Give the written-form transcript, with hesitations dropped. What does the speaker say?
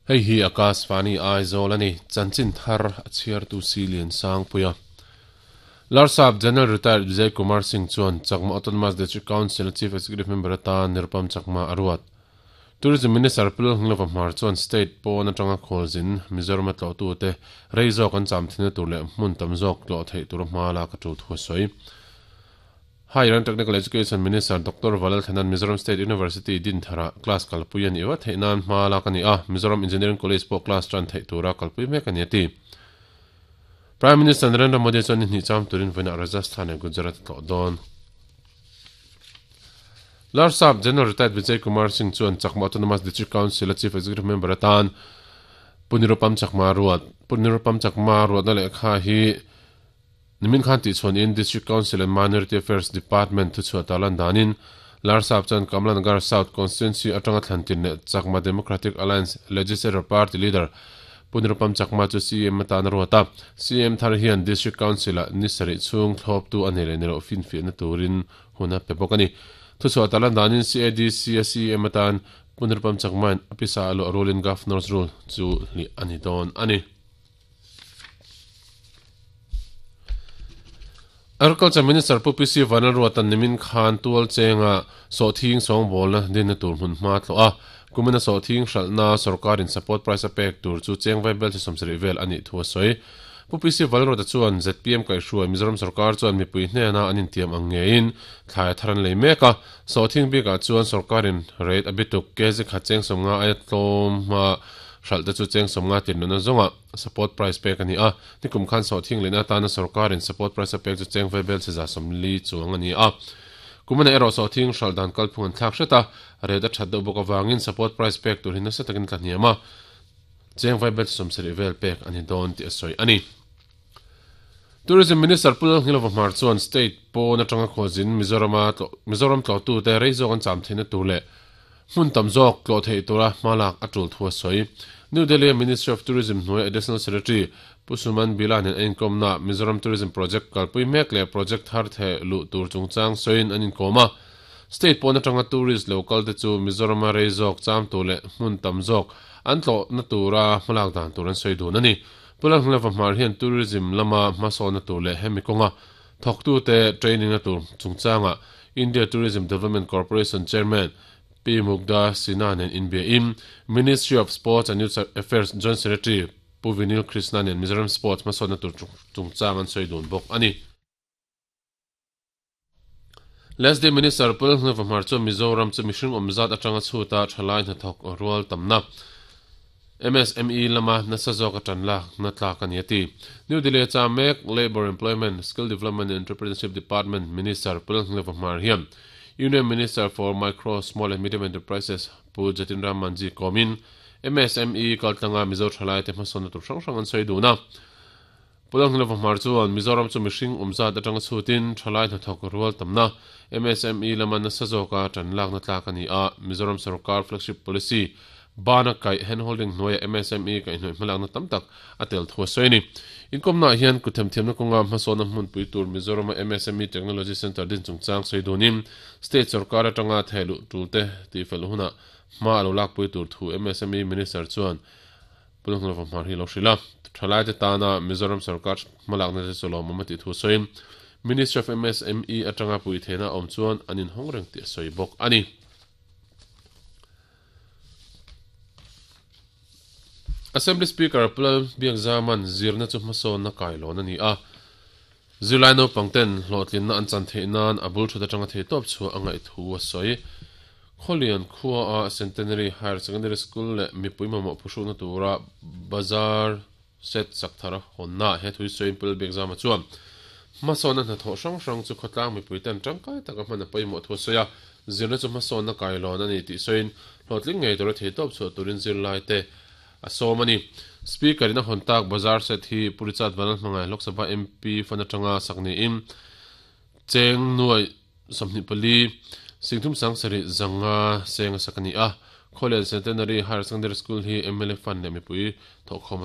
Hei hi Akashvani Aizawl a ni, chanchin thar a chhiartu si Liansangpuia. Larsap General Retired Vijay Kumar Singh chuan Chakma Autonomous District Council-a Chief Executive Member atan Nirupam Chakma a ruat. Tourism Minister Pu Lalhnglova Hmar chuan state pawn atanga khualzin Mizoram a tlawhtute rei zawk an cham thinna tur leh hmun tam zawk tlawh theih tura hma lak a tul thu a sawi. Higher and Technical Education Minister Doctor Valal Thanan Mizoram State University Dinthara class kalpui a nih vat theih nan hma lak a ni a, Mizoram Engineering College pawh class tan theih tura kalpui mek a ni a ti. Prime Minister Narendra Modi chuan ni hnih cham turin vawiinah Rajasthan leh Gujarat a tlawh dawn. Larsap General Retired Vijay Kumar Singh chuan Chakma Autonomous District Council-a Chief Executive Member atan Pu Nirupam Chakma ruat. Pu Nirupam Chakma ruatna lehkha hi Nimin khan tihchhuanin District Council and Minority Affairs Department thuchhuah ta lan danin Larsap chuan Kamlanagar South Constituency atanga thlantin leh Chakma Democratic Alliance Legislature Party Leader Pu Nirupam Chakma chu CM atan a ruat a. CM thar hian District Council-ah ni sarih chhung thlawptu a nei leh ni loh finfiahna turin hun a pe bawk a ni. Thuchhuah ta lan danin CADC-a CM atan Pu Nirupam Chakma-in a pisa a luah rulin Governor's Rule chu hlih a ni dawn a ni. Agriculture Minister Pu PC Vanlalruata'n nimin khan tual chenga sawhthing sawngbawlna dinna tur hmun hma tlawh a, kumina sawhthing hralhna sorkarin support price a pek tur chu cheng vaibel chi 70 vel a nih thu a sawi. Pu PC Vanlalruata chuan zpm kaihhruai Mizoram sorkar chuan mipui hnena an intiam ang ngeiin thlai a thar an lei mek a, sawhthing bikah chuan sorkarin rate a bituk kg khat cheng 50 aia tlawm hma Hralh te chu cheng 50 tirnuna zawnga support price pek a ni a, nikum khan sawhthing lehna atana sorkarin support price a pek chu cheng vaibel chhe 40 chuang a ni a. Kumana erawh sawhthing hralh dan kalphung an thlak hret a, rate a that deuh bawk avangin support price pek tur hi nasa takin tla hniam a, cheng vaibel chhe 70 vel pek a ni dawn tih a sawi a ni. Tourism Minister Pu Lalnghilova Hmar chuan state pawn atanga khualzin Mizorama Mizoram tlawhtute rei zawk an cham theihna tur leh Hmun tam zawk tlawh theih tura hma lak a tul thu a sawi. New Delhi-a Ministry of Tourism hnuai Additional Secretary Pu Suman Bila nen a inkawmnaah Mizoram Tourism Project kalpui mek leh project thar theh luh tur chungchang sawiin an inkawm a. State pawn atanga tourist lo kal te chu Mizorama rei zawk cham tur leh hmun tam zawk an tlawhna tura hmalak dan tur an sawi dun a ni. Pu Lalhngleva Hmar hian tourism lama hmasawnna tur leh hemi kawnga Thawktute training-na tur chungchangah India Tourism Development Corporation Chairman Pi Mugdha Sinha nen inbiain Ministry of Sports and Youth Affairs Joint Secretary Pu Vinil Krishna nen Mizoram Sports hmasawnna tur chungchang an sawi dun bawk a ni. Leslie Minister Pu Lalhnawva Hmar chuan Mizoram chu mihring awm zat atanga chhuta thalai hnathawk rual tamna MSME lama nasa zawk a tan lakna tlak a ni a ti. New Delhi a cham mek Labour, Employment, Skill Development and Entrepreneurship Department Minister Pu Lalhngleva Hmar hian Union Minister for Micro, Small and Medium Enterprises Pu Jatin Ram Manjhi kawmin MSME kaltlanga Mizo thalaite hmasawnna tur hrang hrang an sawi dun a. Pu Lalhngleva Hmar chuan Mizoram chu mihring awm zat atanga chhutin thalai hnathawk rual tamna MSME lama nasa zawka tan lakna tlak a ni a, Mizoram sorkar flagship policy bana kaih handholding hnuaia MSME kaihhnawih hmalakna tam tak a tel thu a sawi a ni. Inkawmnaah hian kutthemthiamna kawnga hmasawnna hmunpui tur Mizorama MSME Technology Centre din chungchang sawi dunin state sorkar atanga thehluh tulte tihfelh hunah hma a lo lakpui tur thu MSME Minister chuan Pu Lalhnawva Hmar hi a lo hrilh a, thalaite tana Mizoram sorkar hmalakna te chu lawmawm a tih thu sawiin Ministry of MSME atanga pui theihna a awm chuan an inhawng reng tih a sawi bawk a ni. Assembly Speaker Pu Lalbiakzaman zirna chu hmasawnna kailawn a ni a, zirlai naupang ten hlawhtlinna an chan theih nan a bul thut atanga thei tawp chhuah a ngaih thu a sawi. Khawlian khuaa Centenary Higher Secondary School leh mipui mamawh phuhrukna tura bazar set chak thar hawnna he thui sawiin Pu Lalbiakzama chuan hmasawnna hnathawh hrang hrang chu khawtlang mipui ten tangkai taka hman a pawimawh thu a sawi a, zirna chu hmasawnna kailawn a ni tih sawiin hlawhtling ngei tura thei tawp chhuah turin zirlaite a sawm a ni. Speaker in a hawn tak bazar set hi Pu Richard Vanlalhmangai Lok Sabha MP fan atanga sak niin cheng nuai 24 Singthum Sangsarih zanga seng a sak a ni a. Khawlian Centenary Higher Secondary School hi mla fund leh mipui thawhkhawm a.